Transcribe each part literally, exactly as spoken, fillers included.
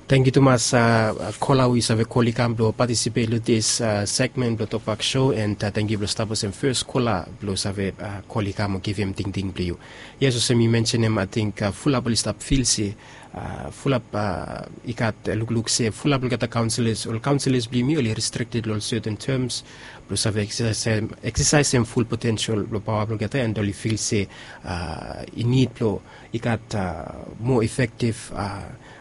Tangkiu tumas kola we yu save kol i kam blong patisipet long dis segmen blong Tokpak Show, and tangkiu blong stap olsem fes kola blong save kol i kam o givim tingting blong yu. Yes, olsem yu mensenim, ating fulap oli stap fil se fulap i gat lukluk se fulap olgeta kaunselas, ol kaunselas blong yumi oli restrikted long ol serten tems blong save eksesaesem ful potensel blong paoa blong olgeta, and oli fil se i nid blong i gat moa efektiv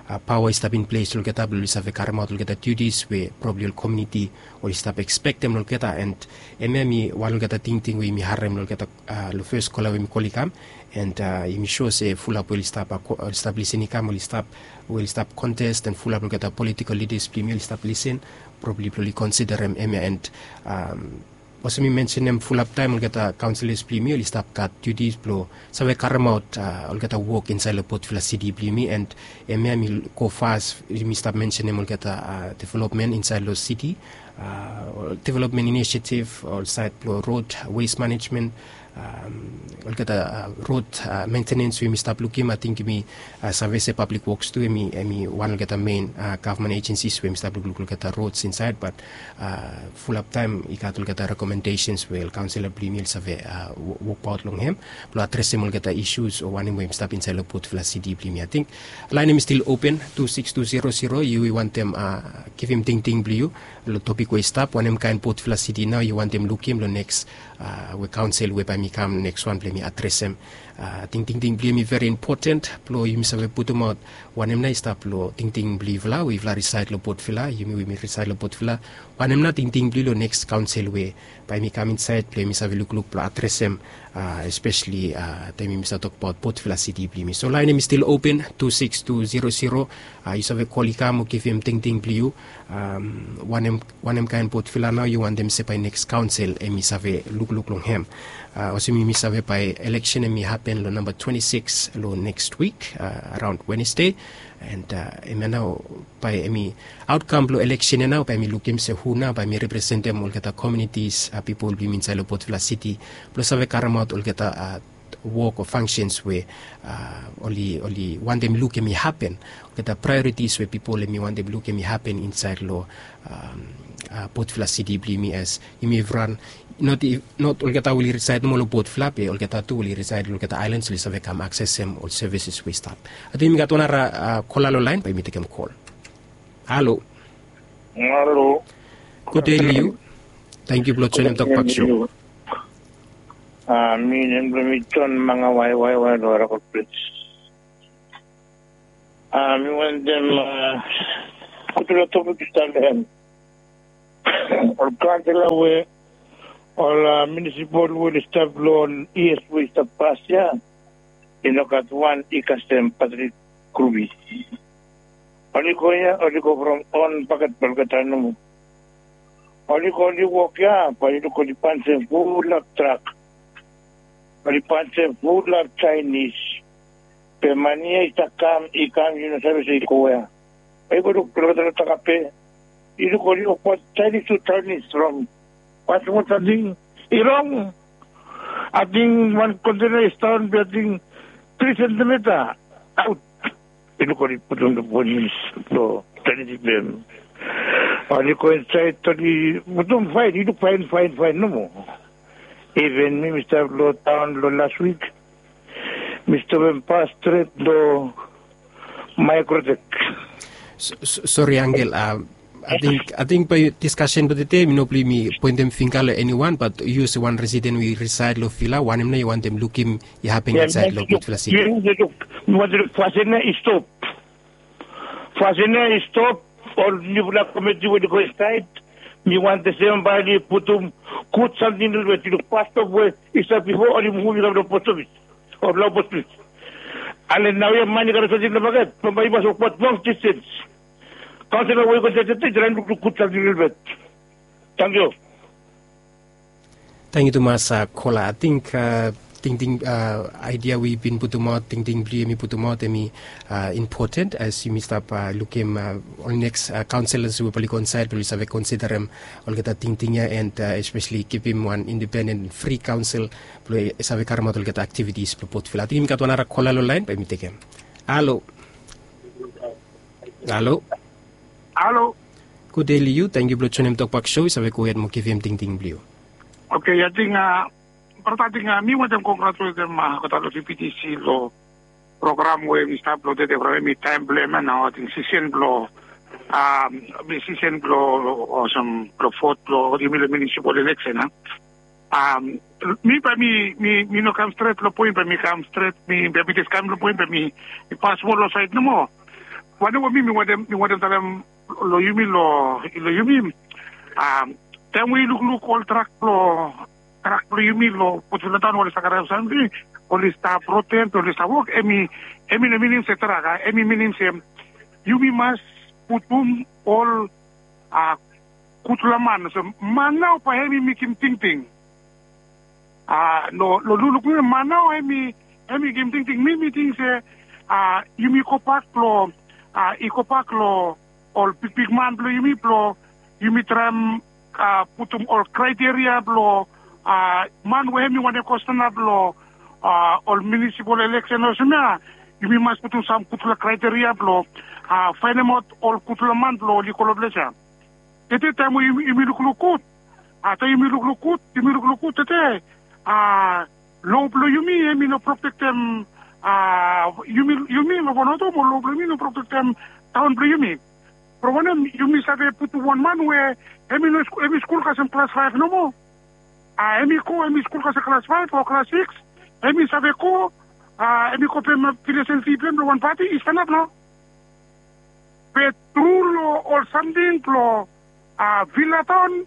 paoa i stap in ples long olgeta blong oli save karemaot olgeta duties we probabli ol komuniti oli stap ekspektem long olgeta. And hemia hemi wan olgeta tingting we yumi harem long olgeta long fes kola we yumi kol i kam. And yumi sua se fulap we oli stap lisin i kam, oli stap we oli stap kontes, and fulap olgeta politikol lidas blong yumi oli stap lisin, probli blong oli konsiderem hemia. And olsem mi mensenem, fulap taem olgeta kaunselas blong yumi oli stap gat duties blong save karemaot olgeta wok insaed long Port Vila City blong yumi. And hemia hemi go fas, yumi stap mensenem olgeta developmen insaed long city, developmen inisiativ, ol saed blong rod, waste management, olgeta rod mentenens we yumi stap lukim. Ating yumi save se Pablik Woks tu hemi wan olgeta mein gavman ejensis we hemi stap lukluk long olgeta rods insaed. Bat fulap taem i gat olgeta rekomendesens we ol kaunselas blong yumi oli save wokbaot long hem blong adresem olgeta isus o wanem we hemi stap insaed long Port Vila City blong yumi. Ating laen hemi stil open, tu sikis tu zero zero, yu i wantem givim tingting blong yu long topik we i stap, wanem kaen Port Vila City nao yu wantem lukim long neks we kaonsel we bae mi kam neks wan blong mi adresem. Ating tingting blong yu hemi veri impoten blong yumi save putumaot wanem nao i stap long tingting blong yufala we yufala risaed long Port Vila, yumi we yumi risaed long Port Vila, wanem nao tingting blong yu long neks kaonsel we bae mi kam insaed blong yumi save lukluk blong adresem, espeseli taem yumi save tokbaot Port Vila City blong yumi. So laen hemi stil open, tu sikis tu zero zero, yu save kol i kam o givim tingting blong yu wanem kaen Port Vila nao yu wantem se bae neks kaonsel hemi save lukluk long hem. Olsem yumi save bae eleksen hemi hapen long namba twenti sikis long neks wik, araon Wenesde. And hemia nao bae hemi aotkam blong eleksen ya nao bae hemi lukim se hu nao bae hemi representem olgeta komunitis, pipol blong yumi insaed long Port Vila City blong save karemaot olgeta wok o fangsens we oli wantem luk hemi hapen, olgeta praeoritis we pipol hemi wantem luk hemi hapen insaed long Port Vila City blong yumi, as yumi evriwan, not olgeta we oli risaed nomo long Port Vila be olgeta tu we oli risaed long olgeta aelans oli save kam aksesem ol sevises we i stap. Ating yumi gat wan nara kola long laen, bae yumi tekem kol. Halo. Halo. Gud dei long yu. Tangkiu blong joenem Tokpak Show. Mi nem blong mi John Mangawai, Waiwai long Aragon Bridge. Mi wantem go tu long topik i stap long hem. Ol kaonsela we ol munisipol we oli stap long ol yias we i stap pas ya, i no gat wan i kasem Patrik Grubi. Oli go ya, oli go from on baket blong olgeta nomo. Oli go, oli wok ya, bae yu luk oli panjem fulap trak. Oli panjem fulap Jaenis. Be mane ya i stap kam, i kam, yu no save se i go wea. Bae yu go luk blong olgeta no takape. Yu luk oli wokbaot Jaenis tu Jaenis from wan smol samting i rong. Ating wan kontena i staon be ating tri sentimeta aot. I luk oli putum long polis blong tenitim hem. Oli go insaed, oli putum faen, i luk faen, faen, faen nomo. Iven mi, mi stap long taon long las wik, mi stopem pas stret long Maekrotek. Sori, Angel, ating bae diskasen blong tede mi no blong mi poentem fingga long eniwan, bat yu olsem wan residen we i risaed long Vila, wanem nao yu wantem lukim i hapen insaed long Port Vila City? Mi wantem luk fasin ya i stop. Fasin ya i stop, ol niufala komiti we oli go insaed, mi wantem se bae oli putum gud samting lelebet. Yu luk pas stop we i stap bifo, oli muvum i kam long post ofis o long post ofis. Ale naoia man i karem samting long maket, bambae i mas wokbaot long distens. Kaonsela we i go insaed tede i traem lukluk gud samting lelebet. Tangkiu. Tangkiu tumas kola. Ating tingting, aedia we yu bin putumaot, tingting blong yu hemi putumaot hemi impoten, as yumi stap lukim ol neks kaonselas we bae oli go insaed, bae oli save konsiderem olgeta tingting ya, and espeseli givim wan indipenden fri kaonsel blong i save karemaot olgeta aktivitis blong Port Vila. Ating yumi gat wan nara kola long laen, bae yumi tekem. Halo. Halo. Halo. Gud dei long yu, tangkiu blong joinim Tokbak Show, yu save gohed mo givim tingting blong yu. Oke, ating brata, ating mi wantem kongratuletem olgeta long V P T C long program we mi stap long tede from hemi taem blong hem ya nao, ating sisen blong, sisen blong olsem blong vot blong yumi long munisipal eleksen ya. Mi bae mi, mi, mi no kam stret long poen, bae mi kam stret, mi bae mi jes kam long poen, bae mi, mi pas moa long saed nomo. Wanem we mi, mi wantem, mi wantem talem long yumi, long, long yumi. Taem we yu lukluk ol trak blong, trak blong yumi long Port Vila Taon, oli stap karem samting, oli stap roten, oli stap wok, hemi, hemi no minim se trak, a, hemi minim se yumi mas putum ol, a, gudfala man, olsem man nao bae hemi mekem tingting. A, no, long lukluk blong mi, man nao hemi, hemi givim tingting. Mi, mi ting se, a, yumi gobak long, a, i gobak long ol bigbigman blong yumi blong yumi traem, a, putum ol kraeteria blong, a, man we hemi wantem go stanap long, a, ol munisipal eleksen olsem ya. Yumi mas putum sam gudfala kraeteria blong, a, faenemaot ol gudfala man blong oli go long ples ya. Tede taem we yumi, yumi lukluk gud, a, taem yumi lukluk gud, yumi lukluk gud tede, a, lo blong yumi hemi no protektem, a, yumi, yumi long Vanuatu mo lo blong yumi no protektem taon blong yumi. From wanem, yumi save putum wan man we hemi no sku-, hemi skul kasem klas faef nomo. A, hemi go, hemi skul kasem klas faef o klas sikis, hemi save go, a, hemi go pem, a, aplikesen fi blong hem long wan pati, i stanap nao. Be tru long ol samting blong, a, Vila Taon,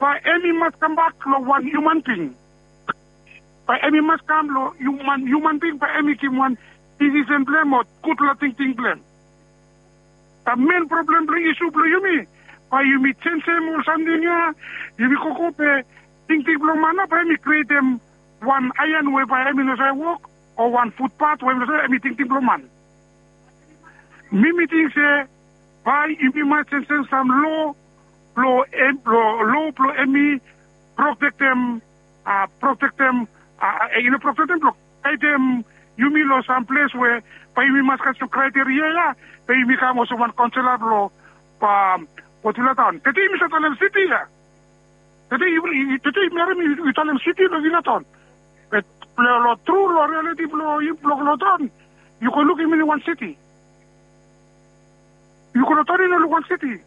bae hemi mas kambak long wan hiuman bing. Bae hemi mas kam long hiuman, hiuman bing, bae hemi givim wan disisen blong hem o gudfala tingting blong hem. Bae men problem blong isu blong yumi, bae yumi jenjem ol samting ya, yumi gogo be tingting blong man nao bae hemi krietem wan aean we bae hemi no save wok, o wan futpat we hemi no save, hemi tingting blong man. Mi, mi ting se bae yumi mas jenjem sam lo blong hem, lo, lo blong hemi protektem, a, protektem, a, a, i no protektem, blong gaedem yumi long sam ples we bae yumi mas kasem kraeteria ya, be yumi kam olsem wan kaonsela blong, a, Port Vila Taon. Tede yumi save talem siti ya. Tede yu, yu, tede yumi harem yu, yu talem siti long Vila Taon. Be long, long tru, long rialiti blong yu, blong, long taon, yu go luk hem i no wan siti. Yu go long taon, i no luk wan siti.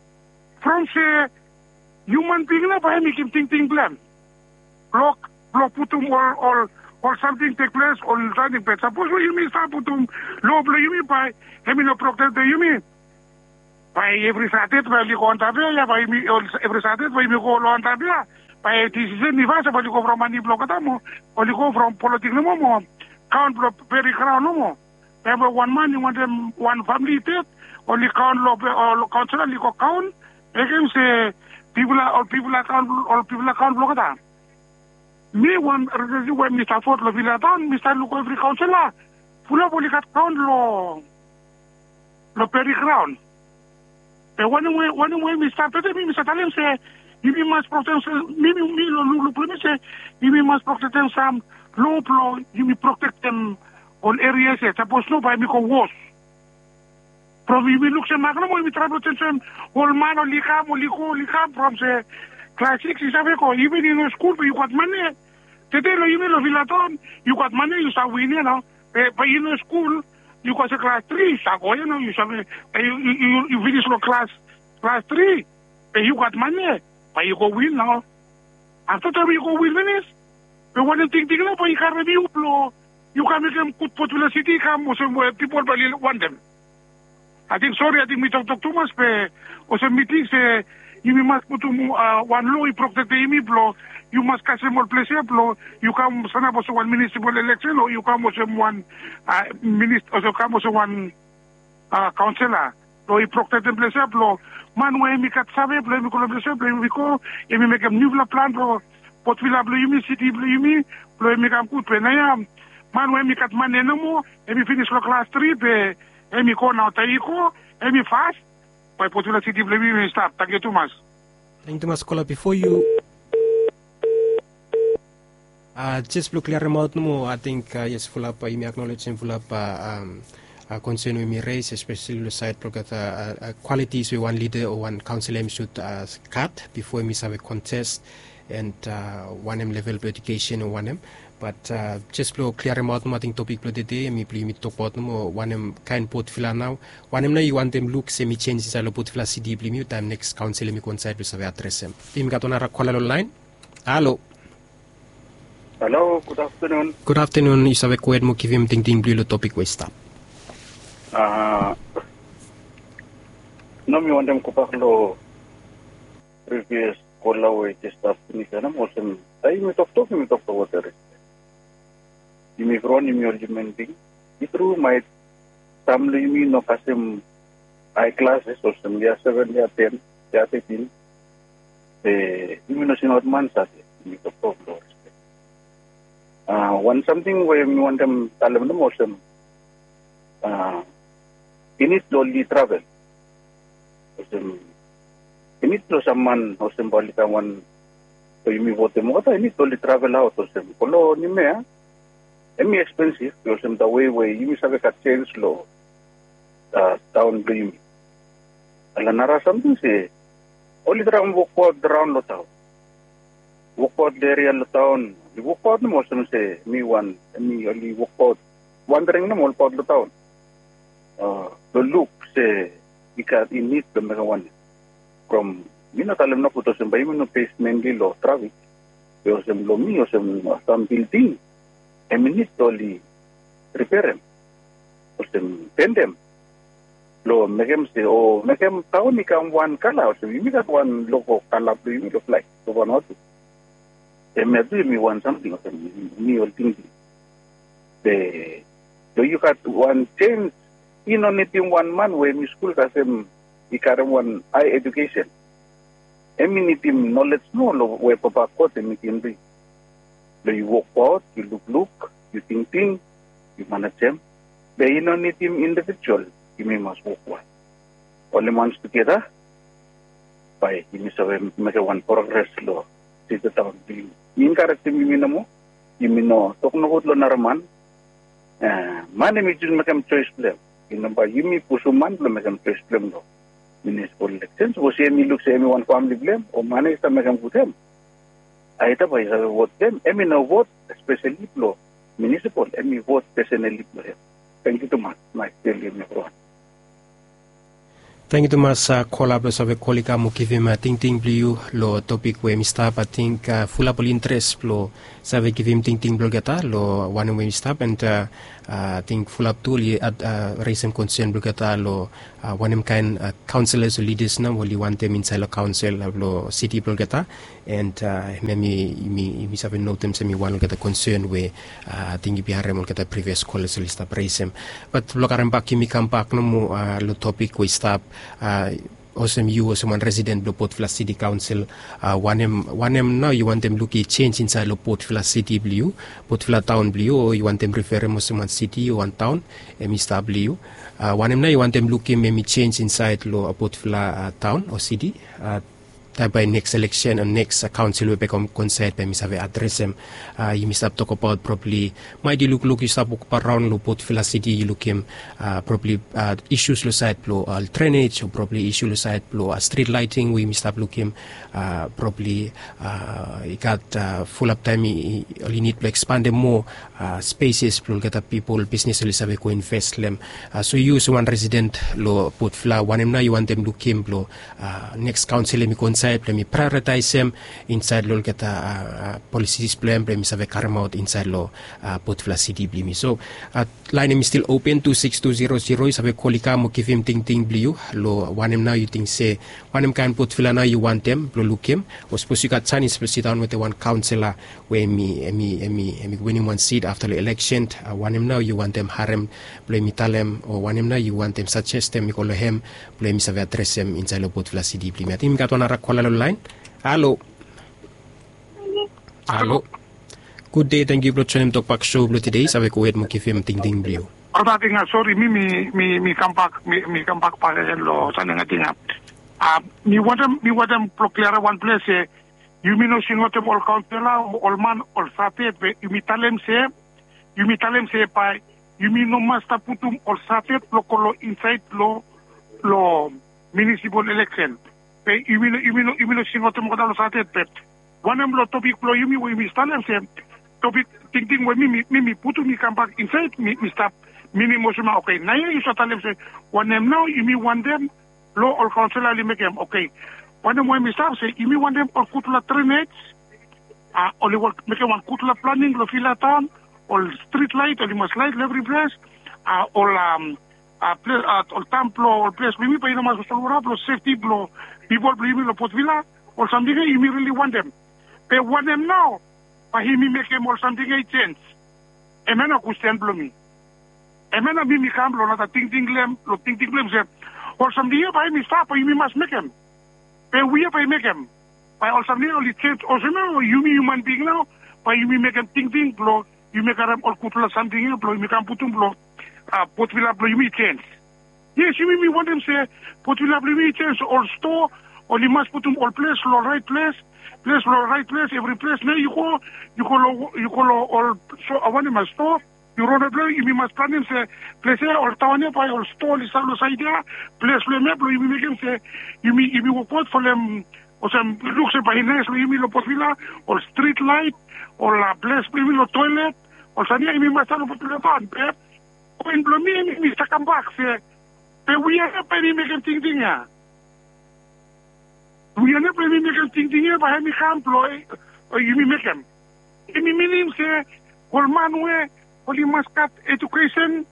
From se hiuman bing nao bae hemi givim tingting blong hem. Blong, blong putum ol, ol, ol samting tekples, ol samting bad. Sapos we yumi stap putum lo blong yumi, bae hemi no protektem yumi. Bae evri Satade bae oli go antap ya, ya bae yumi, ol, evri Satade bae yumi go long antap ya. Bae disisen i fas ya bae oli go from mane blong olgeta mo, oli go from politik nomo mo kaon blong peri graon nomo. Taem we wan man i wantem, wan famili i ded, oli kaon long, ol kaonsela oli go kaon, mekem se pipol ya, ol pipol ya kaon, ol pipol ya kaon blong olgeta. Mi wan representative we mi stap vot long Vila Taon, mi stap luk evri kaonsela, fulap oli gat kaon long, long peri graon. Be wanem we, wanem we mi stap tede, mi, mi save talem se yumi mas protektem, mi, mi, mi long lukluk blong mi se yumi mas protektem sam lo blong yumi protektem ol erias ya. Sapos no, bae hemi go wos. From yumi luk se mak nomo, yumi traem blong jenjem ol man, oli kam, oli go, oli kam, from se klas sikis i save go, iven i no skul be yu gat mane. Tede long yumi long Vila Taon, yu gat mane, yu save win ya nao. Be, be i no skul, yu go se klas tri, yu save go ya nao, yu save, be yu, yu, yu, yu finis long klas, klas tri, be yu gat mane, be yu go win nao. Afta taem yu go win finis, be wanem tingting nao bae i karem yu blong yu kam mekem gud Port Vila Siti i kam olsem we pipol bae oli wantem. Ating, sori, ating mi toktok tumas, be olsem mi ting se yumi mas putum, a, wan lo i protektem yumi blong yu mas kasem ol ples ya blong yu kam sanap olsem wan munisipal eleksen o yu kam olsem wan, a, minis-, olsem kam olsem wan, a, kaonsela. Blong i protektem ples ya blong man we hemi gat save blong hemi go long ples ya blong hemi go, hemi mekem niufala plan blong Port Vila blong yumi, siti blong yumi, blong hemi kam gud. Be naoia man we hemi gat mane nomo, hemi finis long klas tri, be hemi go nao. Taem i go, hemi fas, bae Port Vila Siti blong yumi hemi stap. Tangkiu tumas. Tangkiu tumas, kola, bifo yu, a, jes blong kliaremaot nomo, ating, a, yes, fulap, a, yumi aknolejem fulap, a, am, Konsen we mi res espesali long sait blong olgeta kwalitis we wan lida o wan kaonsela em i sud gat bifo em i save kontes, and wanem level blong ejukesen o wanem. Bat jes blong kliaremaot nomo ating topik blong tede em i blong yumi tokbaot nomo wanem kaen potvila nao, wanem nao yu wantem luk se mi sens insait long potvila siti blong yumi taem neks kaonsel em i go insait blong save adresem. Yumi gat wan nara kola long laen. Halo. Halo, gud aftenun. Gud aftenun. Yu save gohed mo givim tingting blong yu long topik we i stap. Nao mi wantem gobak long privias kola we i jes stap pinis ya nao olsem, taem yumi toktok yumi toktok wetem respek. Yumi evriwan yumi ol hiuman bing. I tru maet sam long yumi no kasem hae klases olsem yia seven, yia ten, yia tetin. Be yumi no singaot man save, yumi toktok long respek. Wan samting we mi wantem talem nomo olsem, i nid long oli travel. Olsem, i nid long sam man olsem bae oli kam wan, we yumi votem olgeta i nid long oli travel aot olsem go long Nimea. Em i ekspensif olsem da wei we yumi save gat sens long taon blong yumi. Ala nara samting se oli traem wokbaot raon long taon, wokbaot long eria long taon, oli wokbaot nomo olsem se mi wan, em i oli wokbaot, wandering nomo olbaot long taon blong luk se i gat i nid blong mekem wanem. From mi no talem nogut olsem bae yumi no bes menli long trafik. Be olsem long mi olsem sam bilding em i nid blong oli riperem, olsem pendem, blong mekem se o mekem taon i kam wan kala olsem yumi gat wan logo kala blong yumi long flaeg long Vanuatu. Hemia tu em i wan samting olsem mi ol tingting. Be long yu gat wan sens, i no nidim wan man we em i skul kasem i karem wan hae ejukesen. Em i nidim nolej nomo long we papa God em i givim long yu. Blong yu wokbaot, yu lukluk, yu tingting, yu manejem. Be i no nidim indivijual, yumi mas wokbaot oli mans tugeta bae yumi save mekem wan progres long siti taon blong yumi. Mi enkarejem yumi nomo, yumi no tok nogud long nara man. Man em i jes mekem joes blong em. I no bae yumi pusum man blong mekem joes blong em long munisipol ileksen. Sapos em i luk se em i wan famili blong em o man i stap mekem gud em, aeda bae i save vot blong em. Em i no vot espesali blong munisipol, em i vot pesenali blong em. Tangkiu tumas. Naes dei long yumi evriwan. Tangkiu tumas kola blong save kol i kam mo givim tingting blong yu long topik we em i stap. Ating fulap ol interes blong save givim tingting blong olgeta long wanem we em i stap, and ating fulap tu oli resem konsen blong olgeta long wanem kaen kaonselas o lidas nao oli wantem insaed long kaonsel blong siti blong olgeta. And hemia mi save notem se mi wan olgeta konsen we ating yumi harem olgeta privias kolas oli stap resem. Bat blong karem bak yumi kambak nomo long topik we i stap, olsem yu olsem wan residen blong Potvila Siti Kaonsel, wanem nao yu wantem lukim i sens insaed long Potvila Siti blong yu, Potvila taon blong yu, o yu wantem riferem olsem wan siti o wan taon em i stap blong yu? Wanem nao yu wantem lukim em i sens insaed long Potvila taon o siti? Taem bae neks ileksen o neks kaonsel we bae i kam go insaed bae mi save adresem. Yumi stap tokbaot probabli maet yu lukluk yu stap wokbaot raon long Potvila Siti yu lukim probabli isus long saed blong ol drenej o probabli isu long saed blong strit laeting we yumi stap lukim. Probabli i gat fulap taem oli nid blong ekspandem moa speses blong olgeta pipol bisnes oli save go inves long hem. So yu olsem wan residen long Potvila, wanem nao yu wantem lukim blong neks kaonsel em i go insaed blong em i praeoritaesem insaed long olgeta polisis blong hem blong em i save karemaot insaed long Potvila Siti blong yumi? So laen em i stil open, tu sikis tu zero zero, yu save kol i kam mo givim tingting blong yu long wanem nao yu ting se wanem kaen Potvila nao yu wantem blong lukim. O sapos yu gat janis blong sidaon wetem wan kaonsela we em i winim wan sit afta long ileksen, wanem nao yu wantem harem blong em i talem, o wanem nao yu wantem sajestem i go long hem blong em i save adresem insaed long Potvila Siti blong yumi? Ating yumi gat wan nara kola long laen. Halo. Halo. Gud dei, tangkiu blong joenem tokbak sou blong tede. Yu save gohed mo givim tingting blong yu. Olgeta, ating sori, mi mi mi kambak, mi kambak bakegen long samting ating. Mi wantem, mi wantem blong kliarem wan ples se yumi no singaotem ol kaonsela o ol man ol save, be yumi talem se, yumi talem se bae Yumi no mas stap putum ol satet blong go long insaed long long minisipol eleksen. Be yumi no yumi no yumi no singaotem olgeta long satet be wanem long topik blong yumi we yumi talem se topik tingting we mi mi mi putum mi kambak insaed mi mi stap minim olsem na oke naoia yu save talem se wanem nao yumi wantem long ol kaonsela oli mekem oke wanem we mi stap se yumi wantem ol gutpela drenej a oli wok mekem wan gutpela planing long vila taon ol strit lait oli mas lait long evri ples a ol a a ples a ol tam blong ol ples blong yumi bae i no mas olsem wara blong sefti blong pipol blong yumi long potvila ol samting ya yumi rili wantem be wanem nao bae yumi mekem ol samting ya i sens. Em ya na kwestin blong mi. Em ya na mi mi kam long nata tingting blong em long tingting blong em se ol samting ya bae yumi stap bae yumi mas mekem be wi ya bae i mekem bae ol samting ya oli sens olsem ya o yumi hiuman bing nao bae yumi mekem tingting blong yumi karem ol gutpela samting ya blong yumi kam putum blong a potvila blong yumi i sens. Yes yumi mi wantem se potvila blong yumi i sens ol stoa oli mas putum ol ples long rait ples ples long rait ples evri ples na yu go yu go long yu go long ol so wanem a stoa yu ron blong yumi mas planim se ples ya ol taon ya bae ol stoa oli stap long saed ya ples blong em ya blong yumi mekem se yumi yumi wokbaot folem olsem luk se bae i nais long yumi long potvila ol strit lait ol ples blong yumi long toelet ol samting ya yumi mas stap long potvila taon be poen blong mi em i save kambak se be wi ya nao bae mi mekem tingting ya wi ya nao bae mi mekem tingting ya bae em i kam blong yumi mekem em i minim se ol man we oli mas gat ejukesen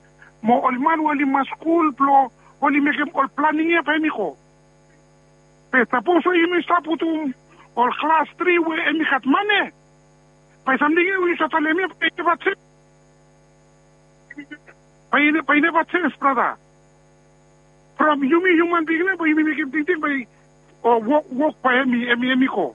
mo ol man we oli mas skul blong oli mekem ol planing ya bae em i go be sapos we yumi stap putum ol klas tri we em i gat mane bae samting ya we yu save talem ya bae i neva sens bae i neva sens brata from yumi hiuman bing nao bae yumi mekem tingting bae o wok wok bae em i em i em i go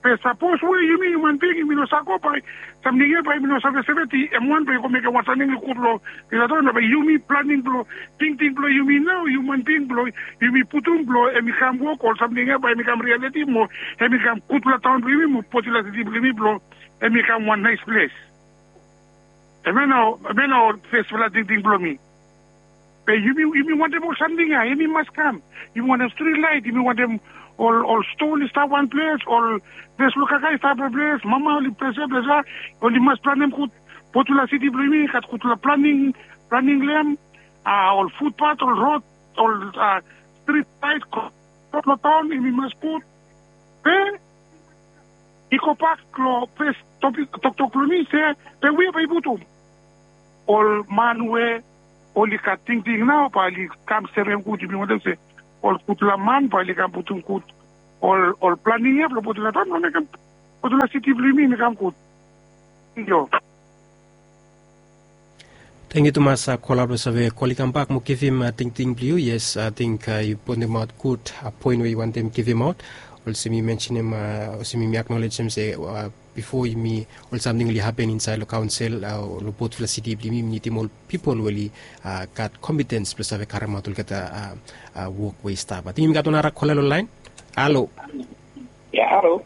be sapos we yumi hiuman bing yumi no save go bae samting ya bae yumi no save seveti em wan bae i go mekem wan samting i gud long i gat wan bae yumi planing blong tingting blong yumi nao hiuman bing blong yumi putum blong em i kam wok ol samting ya bae em i kam rialiti mo em i kam gudpela taon blong yumi mo potila siti blong yumi blong em i kam wan nais ples. Em ya nao em ya nao fesfala tingting blong mi be yumi yumi wantem ol samting ya yumi mas kam yumi wantem strit lait yumi wantem ol ol ston i stap wan ples ol ples blong kaka i stap wan ples mama oli ples ya ples ya oli mas planem gud potula siti blong yumi gat gudpela planing planing long em a ol futpat ol rod ol a strit lait long taon yumi mas put be i gobak long fes toktok blong mi se be we bae i putum ol man we oli gat tingting nao bae oli kam serem gud yumi wantem se ol gudpela man bae oli kam putum gud ol ol planing ya blong putum long taon blong mekem gudpela siti blong yumi mi kam gud. Thank you. Thank yu tumas kola blong save koli kambak mo givim tingting blong yu yes ating yu pointimaot gud poen we yu wantem givimaot olsem yu mensenim olsem yumi aknolejem se bifo yumi ol samting oli hapen insaed long kaonsel long botpela siti blong yumi yumi nidim ol pipol we oli gat kompitens blong save karimaot olgeta wok we i stap ating yumi gat wan nara kola long laen. Halo. Ya halo.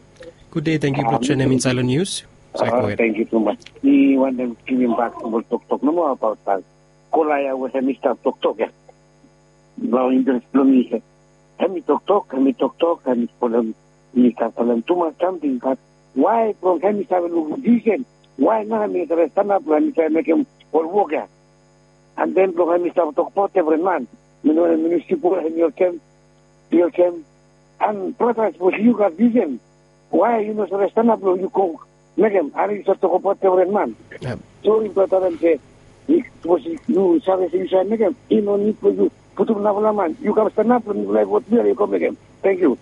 Gud dei tangkiu blong joinim insaed long nius. Tangkiu tumas. Mi wantem givim bak ol toktok nomo abaot ol kola ya we hem i stap toktok ya. Nao interes blong mi se hem i toktok hem i toktok hem i spolem mi stap talem tumas samting bat wae blong hem i save lukim visen wae nao hem i save stanap blong hem i save mekem ol wok ya. An den blong hem i stap tokbaot evri man mi no wanem ministri boi hem i olsem i olsem an brata sapos yu gat visen wae yu no save stanap long yu go mekem are yu save tokbaot evri man. Sori blong talem se sapos yu save se yu save mekem i no nid blong yu putum narafala man yu kam stanap long mifala i vot mifala i go mekem. Tangkiu.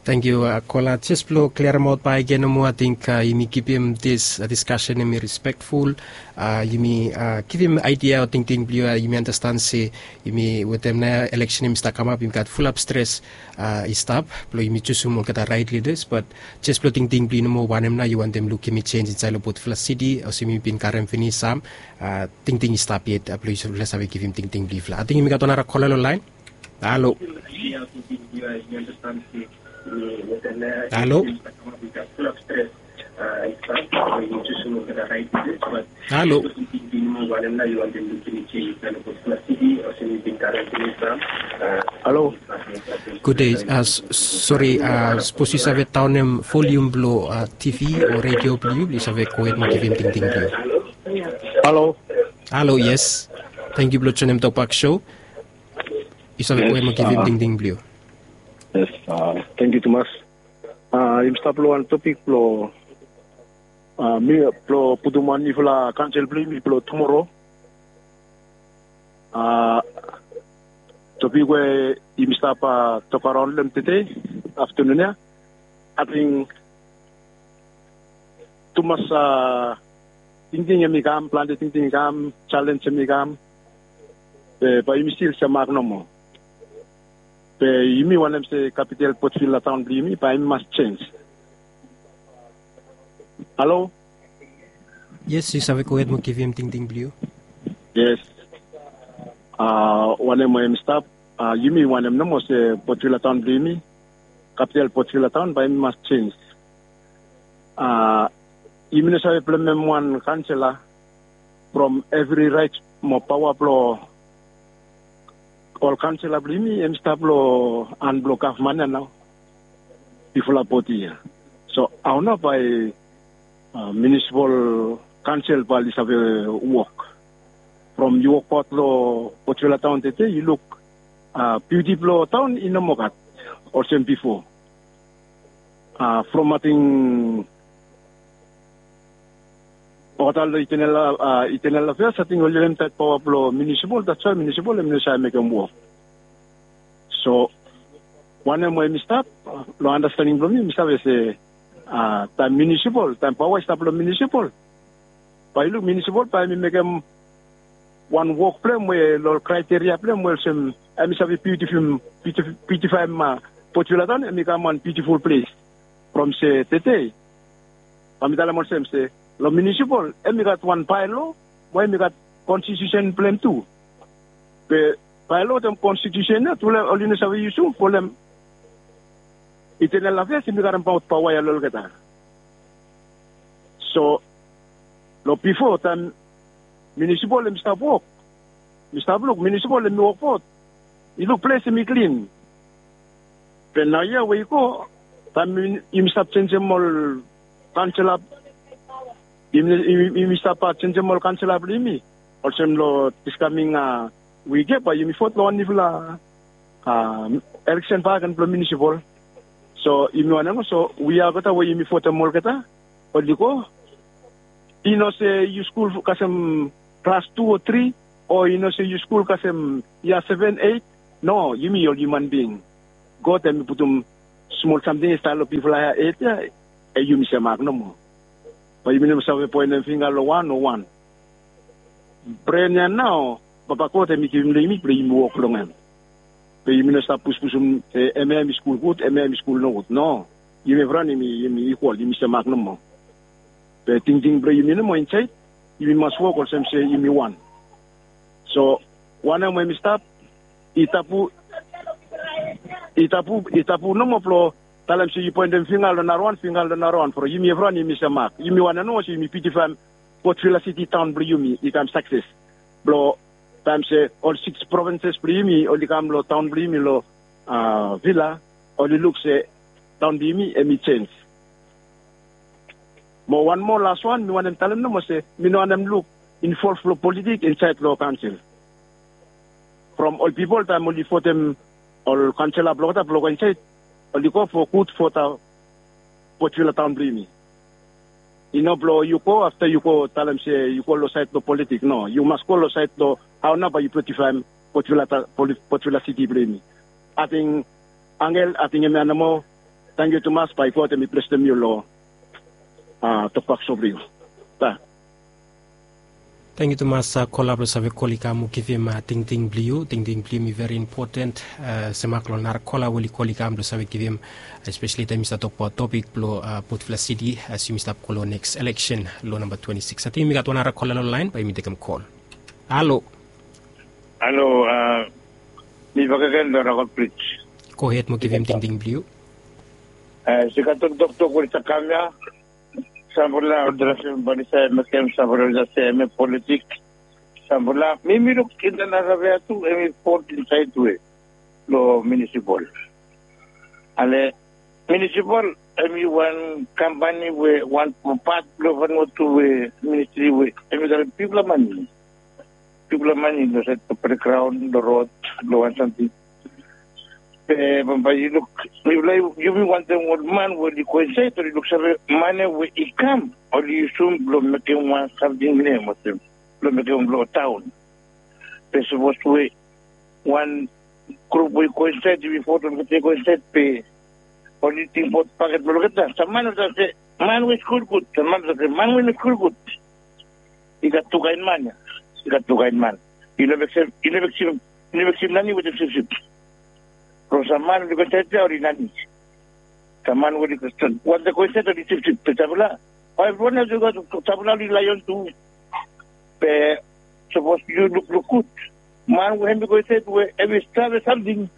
Tangkiu kola jes blong kliaremaot bak gen nomo ating yumi kipim dis diskasen em i rispekful. Yumi givim aidia o tingting blong yu yumi andastan se yumi wetem nao eleksen em i stap kamap yumi gat fulap stres i stap blong yumi jusum olgeta rait lidas bat jes blong tingting blong yu nomo wanem nao yu wantem lukim i sens insaed long botfala siti olsem yumi bin karim finis sam tingting i stap yet blong yufala save givim tingting blong yufala ating yumi gat wan nara kola long laen. Halo. Halo. Halo. Halo. Gud dei. Sori, sapos yu save daonem volium blong tv o redio blong yu blong yu save gohed mo givim tingting blong yu. Halo. Halo, yes. Tangkiu blong joinim Tokpak Show. Yu save gohed mo givim tingting blong yu. Yes. Tangkiu tumas. Yumi stap long wan topik blong mi blong putum wan nifala kansel blong yumi blong tumoro. Topik we yumi stap tokaon long hem tede aftanun ya. Ating tumas tingting hem i kam, plante tingting i kam, jalenj hem i kam. Be bae yumi stil semak nomo. Be yumi wantem se kapital Port Vila taon blong yumi bae yumi mas jenj. Halo. Yes, yu save gohed mo givim tingting blong yu. Yes. Wanem we hem i stap, yumi wantem nomo se Port Vila taon blong yumi, kapital Port Vila taon bae yumi mas jenj. Yumi no save blemem wan kansela from evri raet mo paoa blong ol kansela blong yumi hem i stap long han blong gavman ya nao. Bifo long bodi ya. So hao nao bae munisipal kansel bae oli save wok? From yu wokbaot long Port Vila taon tede yu luk biuti blong taon i no moa gat olsem bifo. From ating olgeta long Internal Affairs ating oli lem taet paoa blong munisipal, that's why munisipal hem i no save mekem wok. So wanem we hem i stap, long andastaning blong mi mi save se taem munisipal, taem paoa i stap long munisipal, bae yu luk munisipal bae hem i mekem wan wok blong hem we long ol kraeteria blong hem we olsem hem i save biutifim, biutifaem Port Vila taon hem i kam wan biutiful ples. From se tede bae mi talem olsem se long munisipal hem i gat wan baelo mo hem i gat konstitiusen blong hem tu. Be baelo wetem konstitiusen ya tufala oli no save yusum folem Internal Affairs hem i karemaot paoa ya long olgeta. So long bifo taem munisipal hem i stap wok, mi stap luk munisipal hem i wokbaot, yu luk ples hem i klin. Be naoia we i go, taem yumi stap jenjem ol kansela, yumi stap jenjem ol kansela blong yumi olsem long dis kaming wik ya bae yumi vot long wan nifala eleksen bak gen blong munisipal. So yumi wanem, so we ya olgeta we yumi votem olgeta oli go, i no se yu skul kasem klas tu o tri, o i no se yu skul kasem yia seven, eit. No, yumi ol hiuman bing, God hem i putum smol samting i stap long bigfala hed ya, yumi semak nomo. Bae yumi no save poenem finga long wan o wan. Bren ya nao Papa God hem i givim long yumi blong yumi wok long hem. Be yumi no stap puspusum se hemia hem i skul gud, hemia hem i skul nogud. No, yumi evriwan yumi ikwal, yumi semak nomo. Be tingting blong yumi nomo insaed, yumi mas wok olsem se yumi wan. So wanem we yumi stap, i tabu, i tabu, i tabu nomo blong talem se yu poenem finga long narawan, finga long narawan, from yumi evriwan yumi semak. Yumi wanem nomo se yumi biutifaem Port Vila Siti taon blong yumi i kam sakses. Blong taem se ol sikis provinses blong yumi oli kam long taon blong yumi long Vila, oli luk se taon blong yumi hem i jenj. Mo wan moa laswan mi wantem talem nomo se mi no wantem luk involv long politik insaed long kaonsel. From ol pipol taem oli votem ol kaonsela blong olgeta blong go insaed, oli go fo gud fo Port Vila taon blong yumi. I no blong yu go afta yu go talem se yu go long saed blong politik. No, yu mas go long saed blong hao nao bae yu biutifaem Port Vila, Port Vila Siti blong yumi. Ating Angel, ating hemia nomo. Tangkiu tumas, bae God hem i blesem yu long tokbak so blong yu. Tangkiu tumas kola blong save kol i kam mo givim tingting blong yu. Tingting blong yumi veri impoten. Semak long nara kola we oli kol i kam blong save givim, espeseli taem yumi stap tokbaot topik blong Port Vila Siti as yumi stap go long neks eleksen long namba twenti sikis. Ating yumi gat wan nara kola long laen, bae yumi tekem kol. Halo. Halo. Mi bakegen long Rockford Bridge. Gohed mo givim tingting blong yu. Sigaton toktok we oli stap kam ya. Sampela olgeta sem bali save mekem sampela olgeta sem em politik. Sampela mi mi luk intanasave ya tu em i fot insaed we long minisipol. Ale minisipol em i wan kampani we wan pat bilong Vanuatu we ministri we em i gat bikpela mani. Bikpela mani long sait bilong pelegraun, long rot, long wan samting. Be bambae yu luk, mipela, yumi wantaim ol man we oli go insaed oli luksave mane we i kam oli yusum bilong mekim wan samting nem olsem bilong mekim ol taun. Be sapos we wan grup we i go insaed, yumi votum olgeta i go insaed, be oli tingbaot paket bilong olgeta. Saman olsem se man we i skul gut, saman olsem se man we i no skul gut. I gat tu kain man ya. I gat tu kain man. I no meksim, i no meksim, i no meksim nani wetem sipsip. From saman oli go insaed ya oli nani. Saman oli go insaed, wan de go insaed oli sipsip. Be sampela, bai wan ya tu gat sampela oli laion tu. Be sapos yu lukluk gut, man we em i go insaed we em i save samting,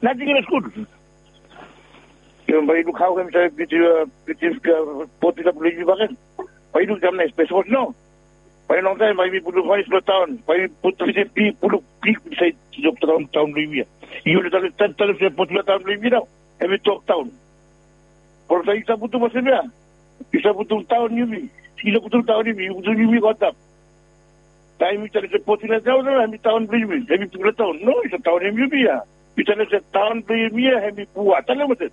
nating i no skul. Yu bai yu luk hau em save bitim, bitim botula bilong yu bakegen. Bai yu luk kam nais, be sapos no, bai longtaim bai mi putum fanis long taun, bai mi putum bitim pi puluk pik insaed long taun, taun bilong yumi ya. Yu no talem, talem se botula taun bilong yumi nau em i tok taun. Olsem yu save putum olsem ya, yu save putum taun yumi. Yu save putum taun yumi, yu putum yumi go antap. Taim yu talem se Port Vila taun, em i taun bilong yumi, em i bikpela taun. No, yu save taun em yumi ya. Yu talem se taun bilong yumi ya em i Pua, talem olsem.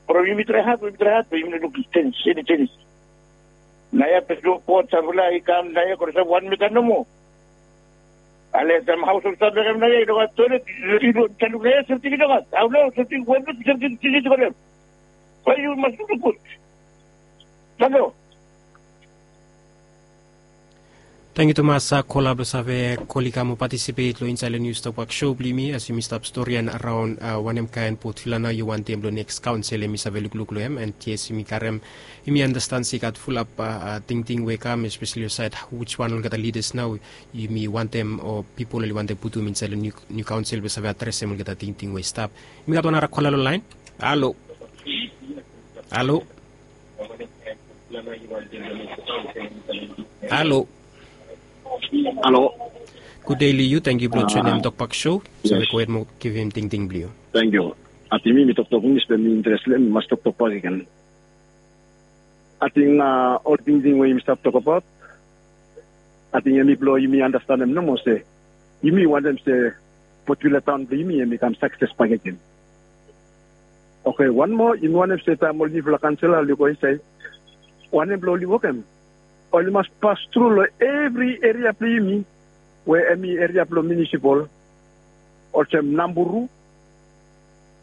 From yumi trae hat, yumi trae hat, be yumi no luk senis, eni senis. Naoia pes long Port, sampela i kam naoia, go olsem wan mita nomo. Ale sam haus ol save mekem naoia i no gat toilet, i no taluk naoia, samting i no gat. Hau nau, samting wan samting i no gat. Bai yu mas luk gut. Tangkiu. Tangkiu tumas, a, kola bilong save kol i kam o patisipet long insait long Nius Tokbak Show bilong yumi, as yumi stap stori araun, a, wanem kain Port Vila nau yu wantaim long neks kaunsil, em i save lukluk long em, and yes, yumi karim, yumi andastan se i gat fulap, a, a, tingting we i kam, especially long sait, which one olgeta leaders nau yumi wantaim, o pipol oli wantaim putum insait long niu, niu kaunsil, we save adresim olgeta tingting we i stap. Yumi gat wan nara kola long lain. Halo. Halo. Halo. Halo. Gud dei long yu, tangkiu bilong joinim Tokbak Show. Save go hed mo givim tingting bilong yu. Tangkiu. Ating mi, mi toktok Inglis, be mi interes long em, mi mas toktok bakegen. Ating, a, ol tingting we yumi stap tokbaot, ating em i bilong yumi andastanem nomo se yumi wantem se Port Vila taun bilong yumi em i kam sakses bakegen. Oke, wan moa, yumi wantem se taim ol niufala kaunsilala oli go insait, wanem bilong oli wokem? Oli mas pas tru long evri eria bilong yumi we em i eria bilong munisipal, olsem Namburu,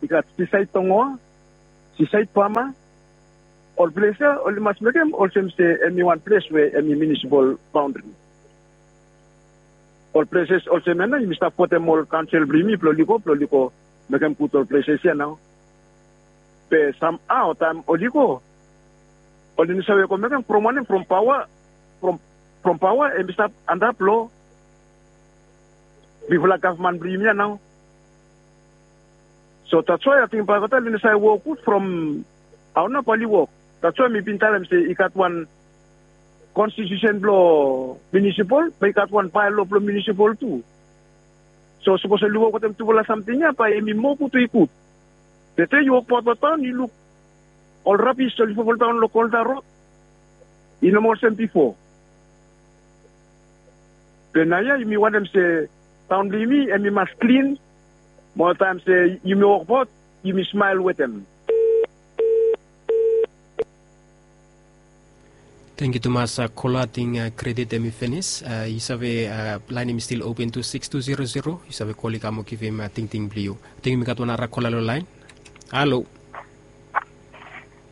i gat Sisait Tongoa, Sisait Pama, ol ples ya oli mas mekem olsem se em i wan ples we em i munisipal baundri. Ol pleses olsem ya nau yumi stap votem ol kaunsil bilong yumi bilong oli go, bilong oli go mekem gut ol pleses ya nau. Be samhao taim oli go, oli no save go mekem from wanem, from paoa, from, from paoa em i stap antap long bigfala gavman bilong yumi ya nau. So that's why ating bai olgeta oli no save wok gut from hao nau bai oli wok. That's why mi bin talem se i gat wan konstitusen bilong munisipal, bai i gat wan baelo bilong munisipal tu. So sapos oli wok wetem tufala samting ya, bai em i moa gut we i gut. Tete yu wokbaot long taun, yu luk ol rabis oli fofol daun long Golda Rod. I no moa olsem bipo. Be naoia yumi wantem se taun bilong yumi em i mas klin. Mo taim se yumi wokbaot, yumi smael wetem. Tangkiu tumas, a, kola, ating, a, kredit em i pinis. A, yu save, a, lain em i stil open tu sikis tu zero zero. Yu save kol i kam o givim, a, tingting bilong yu. Ating yumi gat wan nara kola long lain. Halo.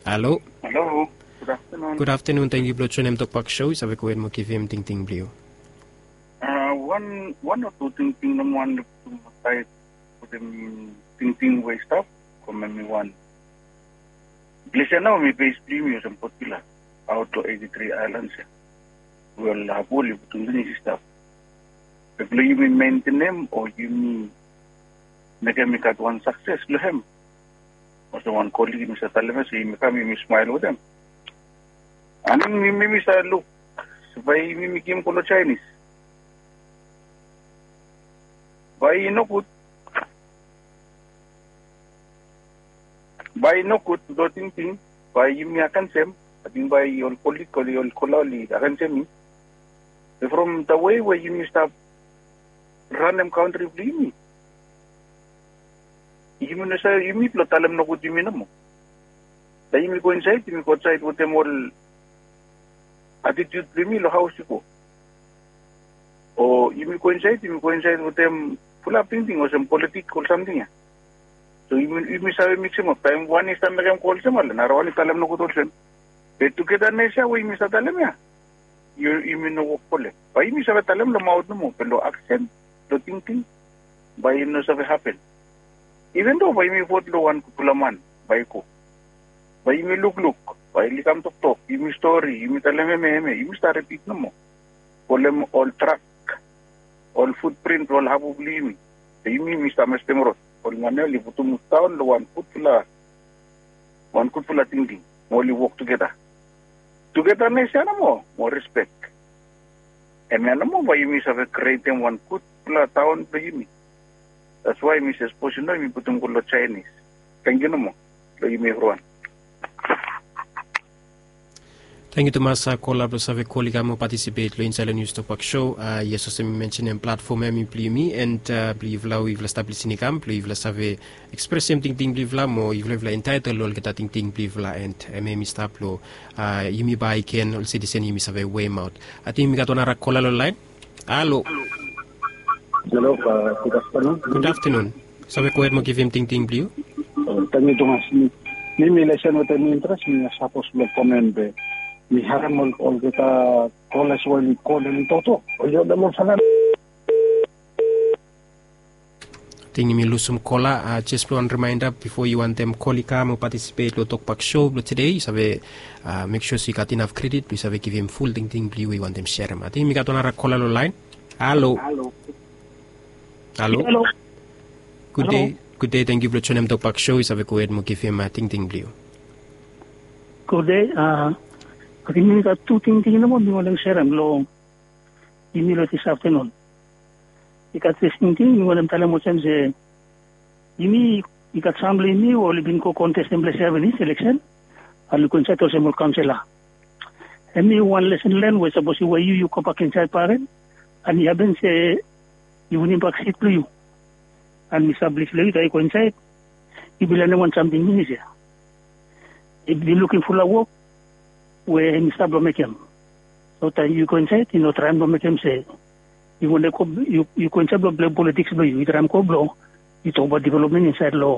Halo. Halo. Gud aftenun. Gud aftenun. Tangkiu bilong joinim Tokbak Show. Yu save go hed mo givim tingting bilong yu. A, wan, wan o tu tingting nomo wan luk tu sait wetem tingting we i stap, ko memi wan. Ples ya nau em i base bilong yumi olsem Port Vila, aot long eighty three ailans ya. We ol hapol i putum pinis i stap. Be bilong yumi mentenem o yumi mekem i gat wan sakses long em. Olsem wan kolig yumi save talem ya se yumi kam yumi smael wetem. Aning mi mi mi save luk bae yumi mi givim go long Chinese. Bae i nogud. Bae i nogud long tingting bae yumi against hem. Ating bae ol kolik oli ol kola oli against hem. From the way we yumi stap ranem kantri blong yumi, yumi no save yumi blong talem nogud yumi nomo. Taem yumi go insaed yumi go aotsaed wetem ol atitiut blong yumi long haos i go. O yumi go insaed yumi go insaed wetem fulap tingting olsem politik ol samting ya. So yumi save miksimap taem wan i stap mekem go olsem ale narawan i talem nogud olsem. Be tugedanes ya we yumi stap talem ya, yumi no wok folem. Bae yumi save talem long maot nomo be long aksen, long tingting, bae i no save hapen. Even do bae yumi vot long wan gudfala man bae i go, bae yumi lukluk, bae i kam toktok, yumi stori, yumi talem hemia hemia, yumi stap ripit nomo. Folem ol trak, ol futprin blong ol habu blong yumi. Be yumi yumi stap mestem rod. Ol man ya oli putum daon long wan gudfala, wan gudfala tingting mo oli wok tugeda. Tugedanes ya nomo mo rispek. Hemia nomo bae yumi save krietem wan gudfala taon blong yumi. That's why mi se sapos i no yumi putum go long Chinese. Tangkiu nomo long yumi evriwan. Tangkiu tumas kola blong save kol i kam mo patisipet long insaed long nius tokbak sho. Yes, olsem mi mensenem platfom ya mi blong yumi and blong yufala we yufala stap lisin i kam blong yufala save ekspresem tingting blong yufala mo yufala yufala entaetel long olgeta tingting blong yufala and hemia mi stap long yumi bae i ken ol sitisen yumi save wemaot. Ating mi gat wan nara kola long laen. Halo. Hello, uh, good afternoon. Good afternoon. Save go ahead mo givim tingting blong yu. Uh, thank you, Thomas. Mi, mi, mi listen with an interest. Mi a suppose lo comment be. Mi harem ol, ol kita college wali call in toto. Ol yo damo sanan. Ting mi lusum kola, uh, just wan reminder before yu wantem kol i kam o participate lo tokbak show blo today, yu save, uh, make sure se yu gat enough credit blo yu save givim full tingting blo yu we yu wantem sharem. Ating mi gat wan nara kola lo line. Halo. Halo. Halo. Good day. Good day. Thank you blo joinim tokbak show. Yu save go ahead mo givim, uh, tingting blo yu. Good day. Uh, ating mi gat tu tingting nomo mi wantem sharem lo yumi lo this afternoon. I gat this tingting mi wantem talem olsem se yumi, i gat sam blo yumi we oli bin go contestem blo seven is election. An oli go insaed olsem ol councillor. Hemi wan lesson learn we sapos i we yu, yu gobak insaed bakegen an i hapen se i winim bak sit blo yu. An mi stap plis lo yu taem yu go insaed, yu bin lanem wan samting finis ya. Yu bin lukim fulap wok we hemi stap blo mekem. So taem yu go insaed yu no traem blo mekem se yu wantem go, yu, yu go insaed blo plei politiks blo yu, yu traem go blo yu tokbaot developmen insaed lo